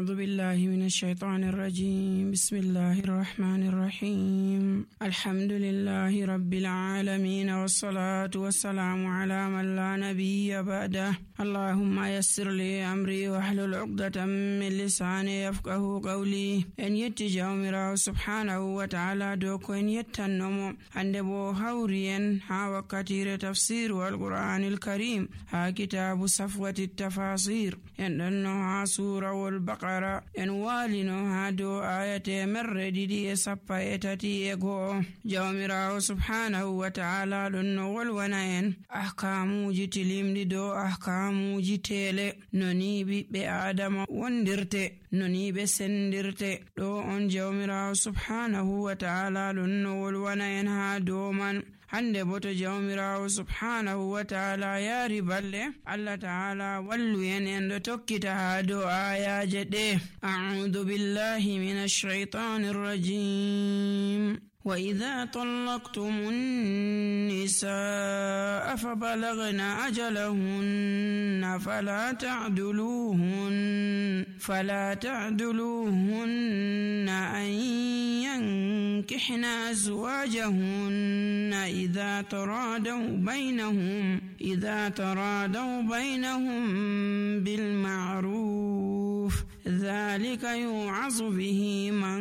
أعوذ بالله من الشيطان الرجيم. بسم الله الرحمن الرحيم. الحمد لله رب العالمين، والصلاة والسلام على من لا نبي بعده. اللهم يسر لي أمري واحلل عقدة من لساني يفقه قولي. En yetti jawmirawo subhanahu wa ta'ala dow ko en yettannomo hande bo hawri en ha wakkatire tafsir wal Qur'anil Karim ha kitabu safwati tafasir. En ɗonno ha surawol Baqara, en walino ha dow ayate merre ɗiɗi e sappa e tati e go'o. Jawmirawo subhanahu wa ta'ala ɗonno wolwana en ahkamuji tilimɗi dow ahkamuji tele, noni ɓiɓɓe adama wondirte, noni ɓe sendirte. ɗo on jawmirawo subhanahu wa ta'ala ɗonno wolwana en ha dow man. hande bo to jawmirawo subhanahu wa ta'ala yaari balle, Allah ta'ala wallu en ɗo tokkita ha dow ayaje ɗe. A'udhu billahi minash shaitanir rajim. وإذا طلقتم النساء فبلغن أجلهن فلا تعدلوهن أن ينكحن أزواجهن إذا ترادوا بينهم بالمعروف، ذلك يوعظ به من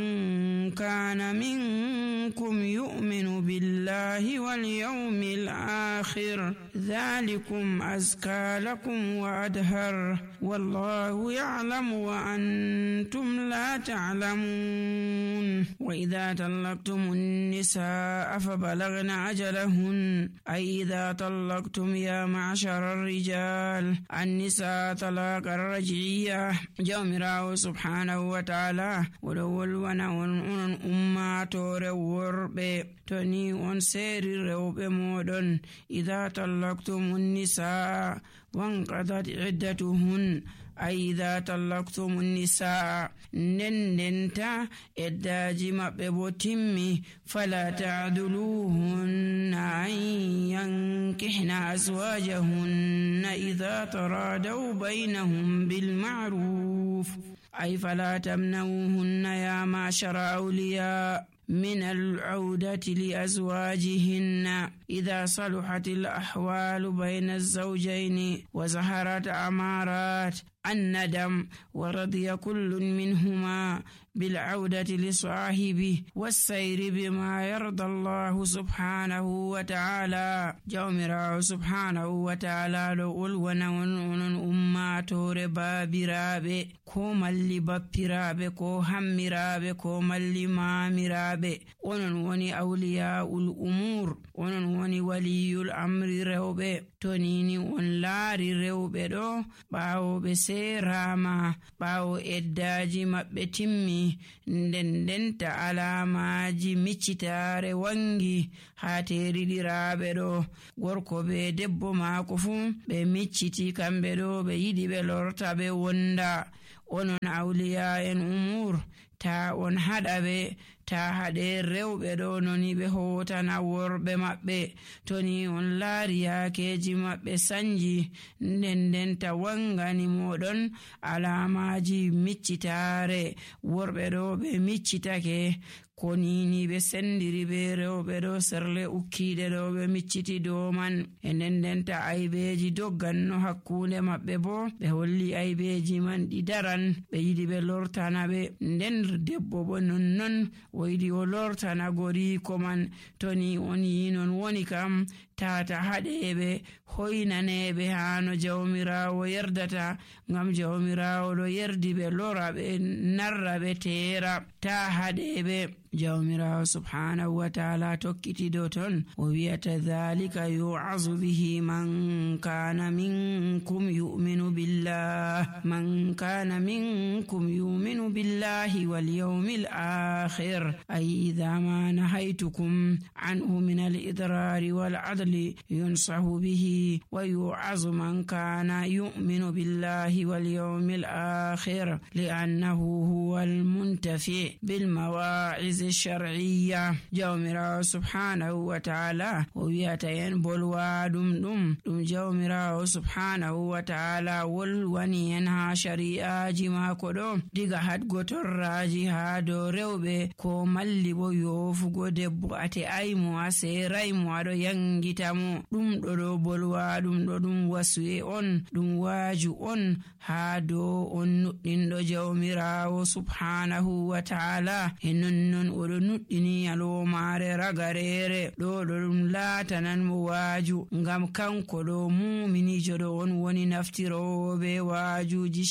كان منكم يؤمن بالله واليوم الآخر، ذلكم أزكى لكم وأطهر، والله يعلم وأنتم لا تعلمون. وإذا طلقتم النساء فبلغن أجلهن، أي إذا طلقتم يا معشر الرجال النساء طلاق الرجعية. jawmirawo subhanahu wa ta'ala woɗo wolwana on ummatore worɓe, to ni on seeri rewɓe moɗon. idha tallaqtumun nisaa wanqadat iddatuhun, ay idha tallaqtumun nisaa ndendenta eddaji maɓɓe bo timmi. fala ta'duluhunna an yankihna azwajahunna idha taradaw baynahum bil ma'ruf, ay fala tamnawhunna ya ma'shara awliya من العودة لأزواجهن إذا صلحت الأحوال بين الزوجين وظهرت أمارات الندم ورضي كل منهما بالعودة لصاحبه والسير بما يرضى الله سبحانه وتعالى. jawmirawo subhanahu wa ta'ala ɗo wolwana onon ummatore babiraɓe, ko malli bappiraɓe, ko hammiraɓe, ko malli mamiraɓe. onon woni awliyaul umur, onon woni waliyul amri rewɓe. to nini on laari rewɓe ɗo ɓawo ɓe serama, ɓawo eddaji maɓɓe timmi, ndendenta alamaji miccitare wangi ha teriɗiraɓe ɗo. gorko be debbo maako fu ɓe micciti, kamɓe ɗo ɓe yiɗi ɓe lorta ɓe wonda. onon awliya en umur, ta on haɗa ɓe, ta haɗe rewɓe ɗo noni ɓe hotana worɓe maɓɓe. to ni on laari yakeji maɓɓe sanji, ndendenta wangani moɗon alamaji miccitare. worɓe ɗo ɓe miccitake, ko nini ɓe sendiri be rewɓe ɗo serle ukkiɗe ɗo ɓe micciti dow man. e ndendenta aybeji dogganno hakkunde maɓɓe bo ɓe holli aybeji man ɗi daran, ɓe yiɗi ɓe lortana ɓe. nden debbo bo nonnon o yiɗi o lortana goriko man. to ni on yi non woni kam tata haɗeɓe, hoynaneɓe hano jawmirawo yerdata, ngam jawmirawo ɗo yerdi ɓe lora ɓe narra ɓe teera, ta haɗeɓe. jawmirawo subhanahu wa ta'ala tokkiti do ton o wiyata dhalika yu'azu bihi man kana minkum yu'minu billahi wal yawmil akhir, ay idha ma nahaytukum anhu min al idrari wal adli yunsahu bihi ويوعظ من كان يؤمن بالله واليوم الآخر لأنه هو المنتفع بالمواعظ الشرعية. جومرا سبحانه وتعالى وياتين بلوادم جومرا سبحانه وتعالى والوني ينها شريعة جما كدو ديغا حد gotorraji haa dow rewɓe ko malli bo yofugo debbo ate aymo a seraymo aɗo yangita mo. Ɗum ɗo bolwa ɗum ɗo ɗum wasuye on ɗum waaju on haa dow on nuɗɗinɗo jawmirawo subhanahu wa ta'ala. E nonnon oɗo nuɗɗini yalomare ragarere ɗo ɗum laatanan mo waaju ngam kanko ɗo muminijo ɗo on woni naftiroɓe waajuji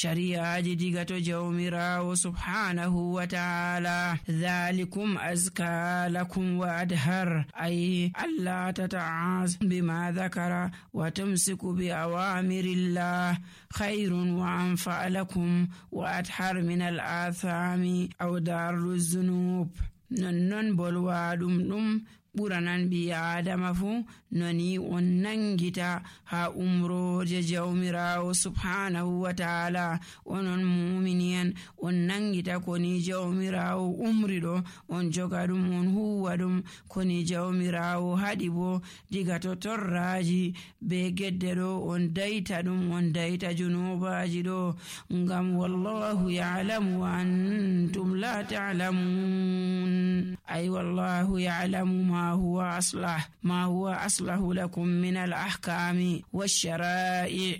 shari'aji diga to jawmirawo subhanahu wa ta'ala. dhalikum azka lakum wa adhar ay alla tata'az bima dhakara wa tumsiku bi awamirillah khayrun wa anfa lakum wa adhar min al-athami aw darru zunub. non bolwa ɗum ɓuranan ɓi adama fu noni on nangita ha umroje jawmirawo subhanahu wa ta'ala. onon muminiyan on nangita koni jawmirawo umri ɗo on joga ɗum on huwa ɗum koni jawmirawo haɗi bo diga to torraji be gedde ɗo on dayta ɗum on dayta junubaji ɗo ngam wallahu ya'lamu wa antum la ta'lamun. ay wallahu ya'lamu ما هو أصلح لكم من الأحكام والشرائع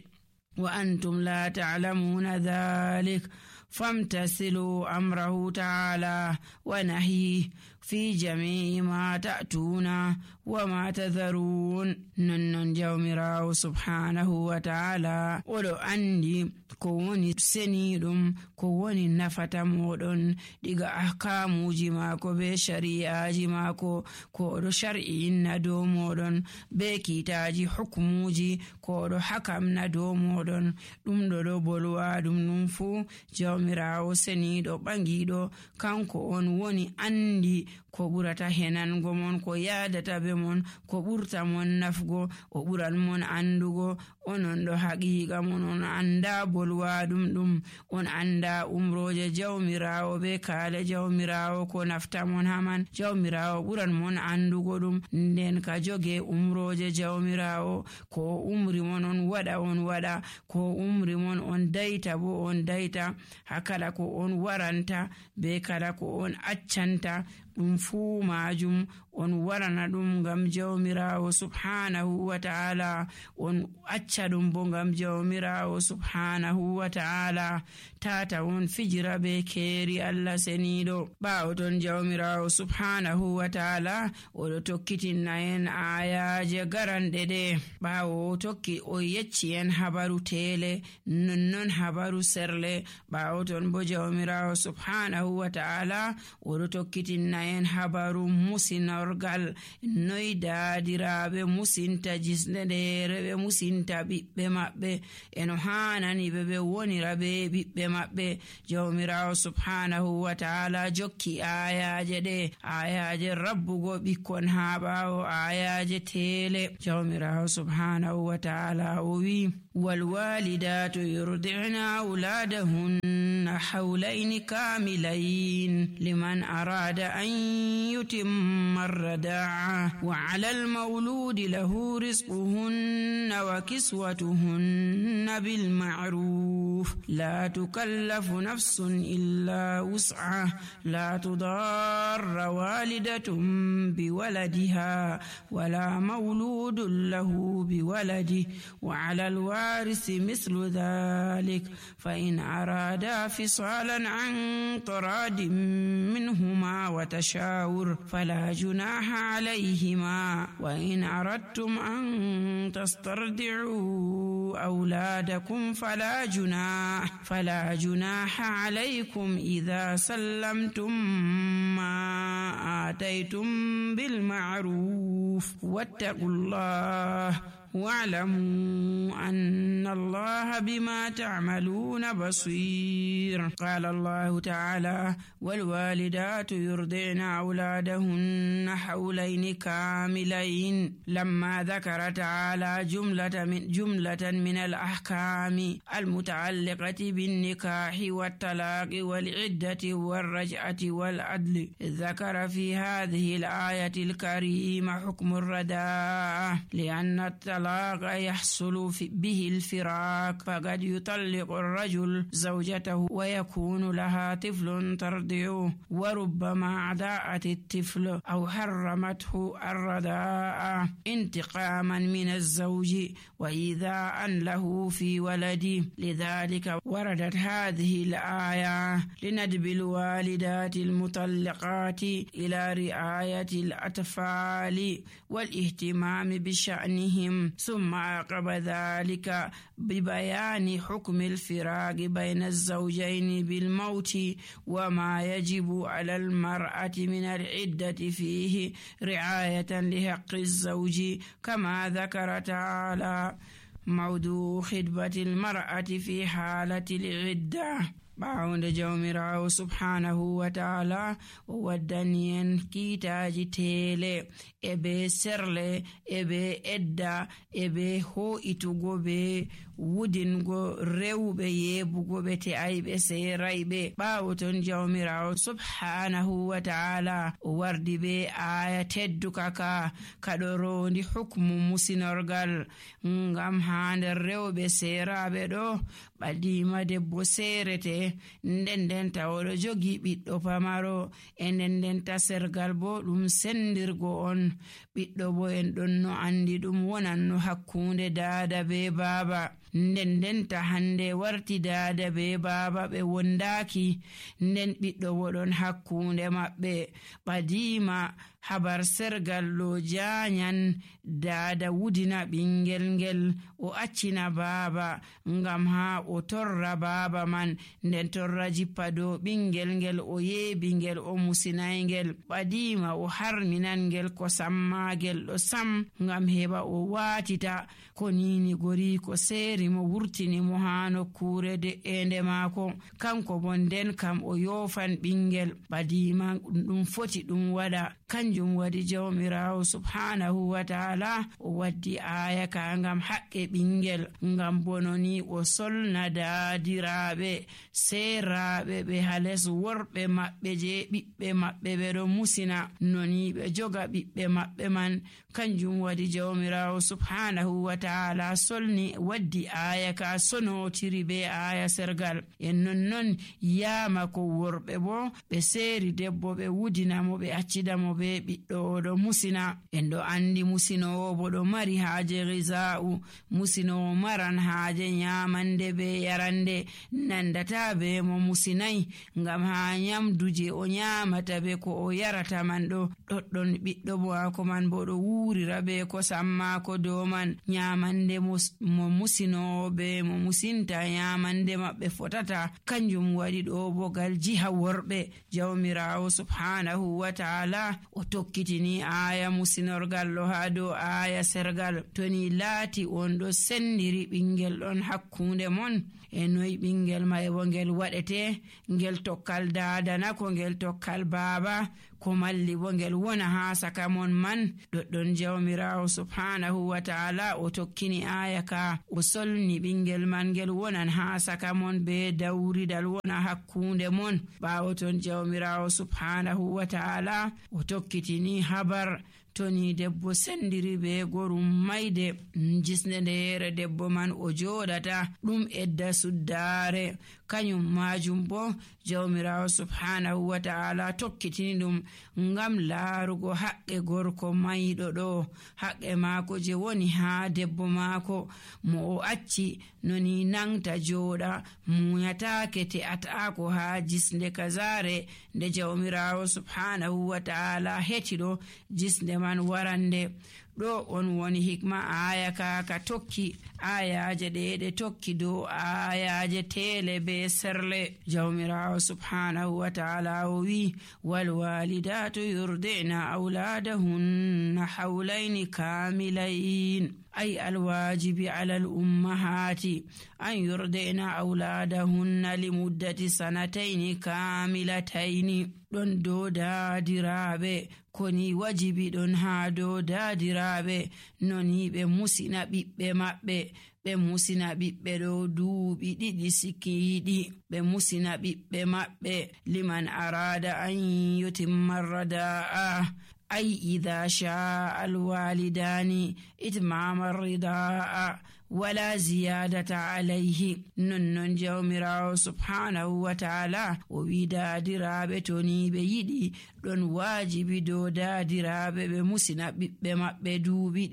وأنتم لا تعلمون ذلك فامتثلوا أمره تعالى ونهيه في جميع ما تأتون وما تذرون. نن جومراو سبحانه وتعالى ولو أندي كوني سنيدم كوني نفتا مودون ديغا أحكام جماكو بشريعة جماكو كورو شرعي ندو مودون بكتاجي حكموجي كورو حكم ندو مودون دم دو بولوا دم ننفو jawmirawo seniɗo ɓangiɗo kanko on woni andi ko ɓurata henango mon ko yadata be mon ko ɓurta mon nafgo o ɓuran mon andugo. onon ɗo haqiqa mon on anda bolwaɗum ɗum on anda umroje jawmirawo be kaale jawmirawo ko nafta mon haman. jawmirawo ɓuran mon andugo ɗum nden ka joge umroje jawmirawo ko umri mon on waɗa ko umri mon on dayta bo on dayta hakala ko on waranta be kala ko on accanta ɗum fuu majum on warana ɗum ngam jawmirawo subhanahu wa ta'ala on acca ɗum bo ngam jawmirawo subhanahu wa ta'ala. tata on fijira be keeri Allah seniɗo. ɓawo ton jawmirawo subhanahu wa ta'ala oɗo tokkitinna en ayaje garanɗe ɗe. ɓawo o tokki o yecci en habaru tele nonnon habaru serle. ɓawo ton bo jawmirawo subhanahu wa ta'ala oɗo tokkitinna en habaru musinorgal noy daadiraɓe musinta jisneɗere ɓe musinta ɓiɓɓe maɓɓe eno hanani ɓe wonira be ɓiɓɓe maɓɓe. jawmirawo subhanahu wa ta'ala jokki ayaje ɗe ayaje rabbugo ɓikkon ha ɓawo ayaje tele. jawmirawo subhanahu wa ta'ala o wi والوالدات يرضعن أولادهن حولين كاملين لمن أراد أن يتم الرضاعة وعلى المولود له رزقهن وكسوتهن بالمعروف لا تكلف نفس إلا وسعها لا تضار والدة بولدها ولا مولود له بولده وعلى الوارث مثل ذلك فإن أرادا فصالا عن تراض منهما وتشاور فلا جناح عليهما وإن أردتم أن تسترضعوا أولادكم فلا جناح عليكم إذا سلمتم ما آتيتم بالمعروف واتقوا الله واعلموا أن الله بما تعملون بصير. قال الله تعالى: والوالدات يرضعن أولادهن حولين كاملين. لما ذكر تعالى جملة من الأحكام المتعلقة بالنكاح والطلاق والعدة والرجعة والعدل، ذكر في هذه الآية الكريمة حكم الرداء، لأن الطلاق يحصل به الفراق، فقد يطلق الرجل زوجته ويكون لها طفل ترضعه، وربما أضاعت الطفل أو حرمته الرضاء انتقاما من الزوج وإيذاء له في ولده. لذلك وردت هذه الآية لندب الوالدات المطلقات إلى رعاية الأطفال والاهتمام بشأنهم، ثم عقب ذلك ببيان حكم الفراق بين الزوجين بالموت وما يجب على المرأة من العدة فيه رعاية لحق الزوج، كما ذكر تعالى موضوع خطبة المرأة في حالة العدة. باوند جوميراو سبحانه وتعالى ودنين كيتاجي تيلي ebe serle ebe edda ebe ho'itugo be wudingo rewbe yebugo be te aybe seeraybe. ɓaawo ton jawmirawo subhanahu wa ta'ala wardi be aya tedduka kaɗo rondi hukmu musinorgal ngam ha nder rewbe seeraɓe ɗo ɓadima debbo seerete nden tawoɗo jogi ɓiɗɗo pamaro e nden sergal bo ɗum sendirgo on. ɓiɗɗo bo en ɗon no andi ɗum wonan no hakkunde daada be baaba. nden hande warti daada be baaba ɓe wondaki, nden ɓiɗɗo bo ɗon hakkunde maɓɓe. ɓadima habar sergal ɗo janyan daada wudina ɓingel ngel o accina baaba ngam ha o torra baaba man, nden torra jippa dow ɓingel ngel o yeebi ngel o musinaygel. ɓadima o harminan ngel ko sammagel ɗo sam ngam heɓa o watita ko nini gori ko seeri mo wurtini mo ha nokkure de'ende maako. kanko bo nden kam o yofan ɓingel. ɓadima ɗum foti ɗum waɗa. kanjum wadi jawmirawo subhanahu wa ta'ala o waddi aya ka ngam haqqe ɓingel, ngam bononi o solna daadiraɓe seeraɓe ɓe hales worɓe maɓɓe je ɓiɓɓe maɓɓe ɓe ɗo musina noni ɓe joga ɓiɓɓe maɓɓe man. kanjum wadi jawmirawo subhanahu wa ta'ala solni waddi aya ka sonotiri be aya sergal. en non yama ko worɓe bo ɓe seeri debbo ɓe wudinamo ɓe accidamo be ɓiɗɗo oɗo musina. en ɗo andi musinowo bo ɗo mari haaje ghiza'u, musinowo maran haaje nyamande be yarande, nandata be mo musinayi ngam ha nyamduje o nyamata be ko o yarata man ɗo ɗoɗɗon ɓiɗɗo bo ako man bo ɗo wurira be ko sammako dow man. nyamande mo musinowo be mo musinta nyamande maɓɓe fotata. kanjum waɗi ɗo bogal jiha worɓe jawmirawo subhanahu wa ta'ala o tokkitini aya musinorgal ɗo ha dow aya sergal. toni laati on ɗo sendiri ɓingel ɗon hakkunde mon, e noyi ɓingel may bo ngel waɗete, ngel tokkal daadana ko ngel tokkal baaba, ko malli bo ngel wona ha saka mon man. ɗoɗɗon jawmirawo subhanahu wa ta'ala o tokkini aya ka o solni ɓingel man ngel wonan ha saka mon be dawridal wona hakkunde mon. ɓaawo ton jawmirawo subhanahu wa ta'ala o tokkitini habar toni debbo sendiri be gorum mayde jisne ndeere debbo man o joɗata ɗum edda suddare. kanyum majum bo jawmirawo subhanahu wa ta'ala tokkitini ɗum ngam laarugo haqqe gorko mayɗo ɗo, haqqe maako je woni ha debbo maako mo o acci noni nangta joɗa munyatake te'atako ha jisnde kazare nde jawmirawo subhanahu wa ta'ala heti ɗo jisnde man warande. ɗo on woni hikma aya ka tokki ayaje ɗe tokki dow ayaje tele be serle. Jawmirawo subhanahu wa ta'ala o wi wal walidatu yurdina auladahunna hawlaini kamilain ay alwajibi ala al ummahati an yurdina auladahunna limuddati sanataini kamilataini. ɗon dow daadiraɓe koni wajibi ɗon ha dow daadiraɓe noni ɓe musina ɓiɓɓe maɓɓe. ɓe musina ɓiɓɓe ɗo duuɓi 2 sikiiɗi. ɓe musina ɓiɓɓe maɓɓe liman arada an yutimma radaa ay idha shaa alwalidani itmama ridaa wala ziyadata alayhi. nonnon jawmirawo subhanahu wa ta'ala o wi daadiraɓe to ni ɓe yiɗi ɗon wajibi dow daadiraɓe ɓe musina ɓiɓɓe maɓɓe duuɓi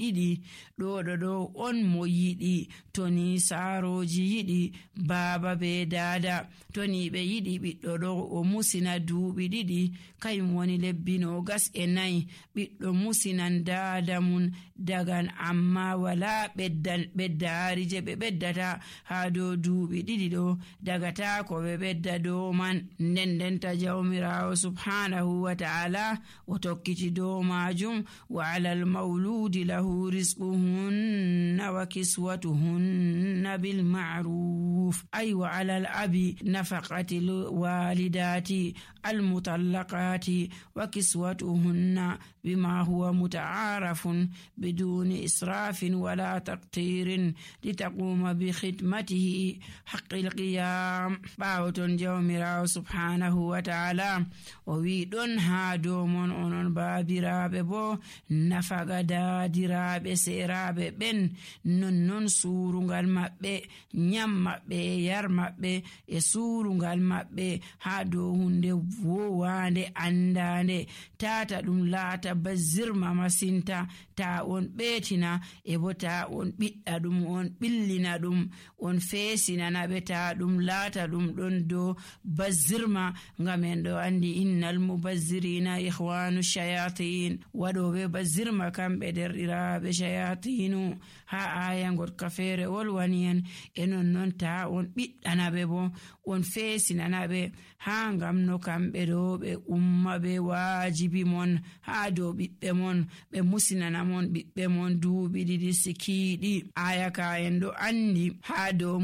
2. ɗo on mo yiɗi. to ni saaroji yiɗi baaba be daada, to ni ɓe yiɗi ɓiɗɗo ɗo o musina duuɓi 2 kayum woni lebbi 24. ɓiɗɗo musinan daada mum dagan amma wala ɓeddaari je ɓe ɓeddata ha dow duuɓi 2 ɗo dagata ko ɓe ɓedda dow man. ndendenta jawmirawo subhanahu wa ta'ala o tokkiti dow majum wa alal mawludi lahu rizquhunna wa kiswatuhunna bil ma'ruf ay wa alal abi nafaqati walidati al mutallaqati wa kiswatuhunna bima huwa muta'arafun biduni israfin wala taqtirin litaquma bi khidmatihi haqqil qiyam. ɓawoton jawmirawo subhanahu wa ta'ala o wi ɗon ha dow mon onon baabiraɓe bo nafaga daadiraɓe seeraɓe ɓen nonnon suurungal maɓɓe, nyam maɓɓe, yar maɓɓe e suurungal maɓɓe ha dow hunde wowande andande tata ɗum laata bazirma masinta. ta on ɓeetina e bo ta on ɓiɗɗa ɗum on ɓillina ɗum on feesinana ɓe ta ɗum laata ɗum ɗon dow bazirma. ngam en ɗo andi innal mubazzirina ihwanu shayatin. waɗoɓe bazirma kamɓe derɗiraɓe shayatinu. ha aya gotka feere wolwani en e nonnon ta on ɓiɗɗanaɓe bo on feesinanaɓe ha ngam no kamɓe ɗo ɓe umma ɓe wajibi mon ha dow ɓiɓɓe mon ɓe musinana mon ɓiɓɓe mon duuɓi 2 sikiiɗi. aya ka en ɗo andi ha dow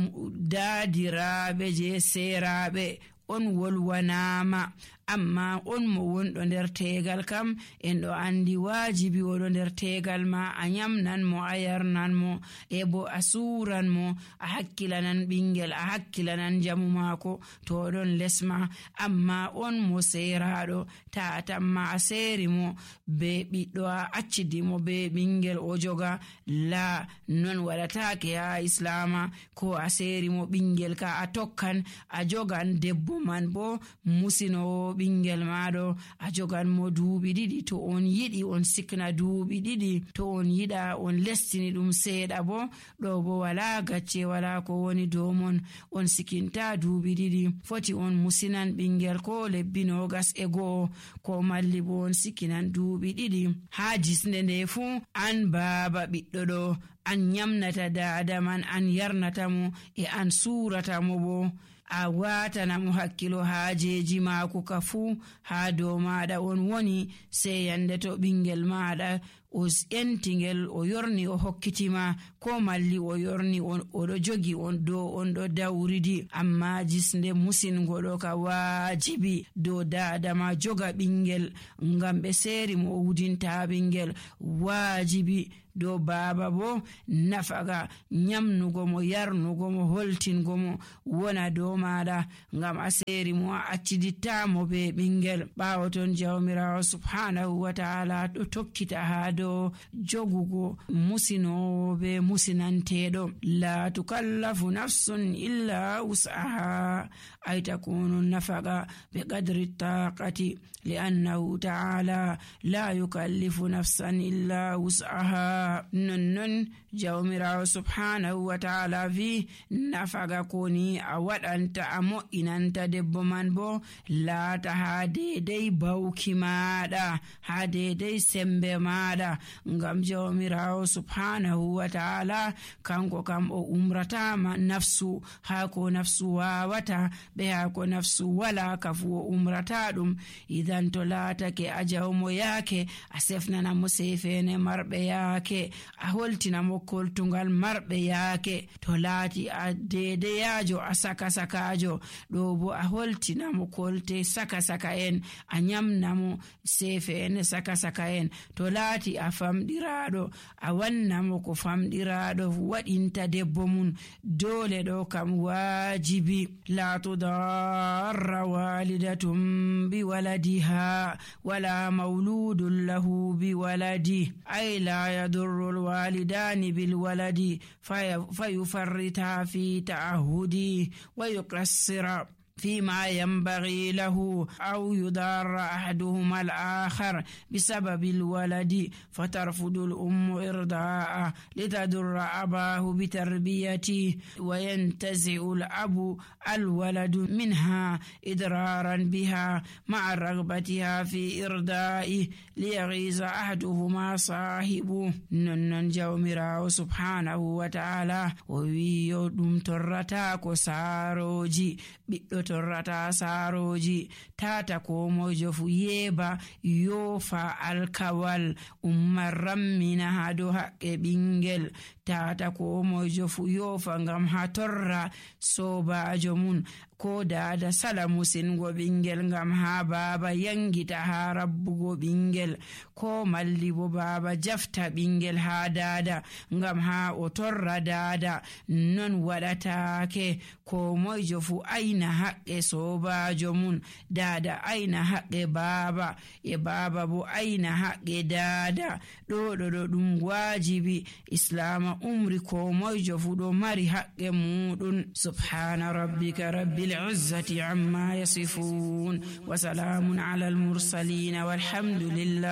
daadiraɓe je seeraɓe on wolwanama, amma on mo wonɗo nder tegal kam en ɗo andi wajibi oɗo nder tegal ma a nyamnan mo, a yarnan mo, e bo a suran mo, a hakkilanan ɓingel, a hakkilanan jamu mako to ɗon lesma. amma on mo seeraɗo ta tamma a seeri mo be ɓiɗɗo a accidi mo be ɓingel o joga, la non waɗatake ha islama. ko a seeri mo ɓingel ka a tokkan a jogan debbo man bo musinowo ɓingel maɗo a jogan mo duuɓi 2. to on yiɗi on sikna duuɓi 2, to on yiɗa on lestini ɗum seeɗa bo ɗo bo wala gacce wala ko woni dow mon, on sikinta duuɓi 2. foti on musinan ɓingel ko lebbi 21 ko malli bo on sikinan duuɓi 2. ha jisnde nde fu an baaba ɓiɗɗo ɗo an nyamnata daada man, an yarnata mo e an suurata mo bo a watana mo hakkilo haajeji maako ka fu ha dow maɗa on woni. sey yande to ɓingel maɗa o entingel o yorni o hokkitima ko malli o yorni oɗo jogi on dow on ɗo dawridi, amma jisnde musingo ɗo ka wajibi dow dadama joga ɓingel ngam ɓe seeri mo o wudinta ɓingel. wajibi dow baaba bo nafaga nyamnugo mo, yarnugo mo, holtingo mo wona dow maɗa ngam a seeri mo a accidittamo be ɓingel. ɓawo ton jawmirawo subhanahu wa ta'ala ɗo tokkita ha dow jogugo musinowo be musinanteɗo. la tukallafu nafsun illa wus'aha ay takunu nafaga be qadri taqati li'annahu ta'ala la yukallifu nafsan illa wus'aha. nonnon jawmirawo subhanahu wa ta'ala vi nafaga koni a waɗanta a mo'inanta debbo man bo laata ha dedei bawki maɗa, ha dedei sembe maɗa. umrata ngam jawmirawo subhanahu wa ta'ala kanko kam o umratama nafsu haa ko nafsu wawata be haa ko nafsu wala kafu o umrata ɗum. Idan to laatake a jawmo yaake a sefnana mo sefene marɓe yaake, a holtina mo koltungal marɓe yaake. To laati a dedeyajo a saka-sakajo ɗo bo a holtina mo kolte saka-saka en, a nyamna mo sefene saka-saka en. To laati a famɗiraɗo a wanna mo ko famɗiraɗo waɗinta debbo mum. Dole ɗo kam wajibi. La tudarra walidatum bi waladiha wala mauludun lahu bi waladi, ay la yadurru alwalidani bil waladi fayufarrita fi ta'ahudi wa yuqassira فيما ينبغي له أو يضار أحدهما الآخر بسبب الولد فترفض الأم إرضاءه لتضر أباه بتربيته وينتزع الأب الولد منها إضرارا بها مع رغبتها في إرضائه ليغيظ أحدهما صاحبه. نن جومراو سبحانه وتعالى ويو دم ترتاكو ساروجي torrata saroji tata ko mojo fu yeba yofa alkawal rammina hado haqqe ɓingel. Tata ko mojo fu yofa ngam ha torra sobajo mun ko dada sala musingo ɓingel ngam ha baba yangita ha rabbugo ɓingel, ko malli bo baba jafta ɓingel ha dada ngam ha o torra dada. Non waɗatake. Ko mojo fu aina haqqe sobajo mun, dada aina haqqe baba e baba bo aina haqqe dada. ɗo ɗum wajibi. Islama umri ko mojo fu ɗo mari haqqe muɗum. Subhana rabbika rabbil izzati amma yasifun wa salamun ala al mursalin walhamdulillah.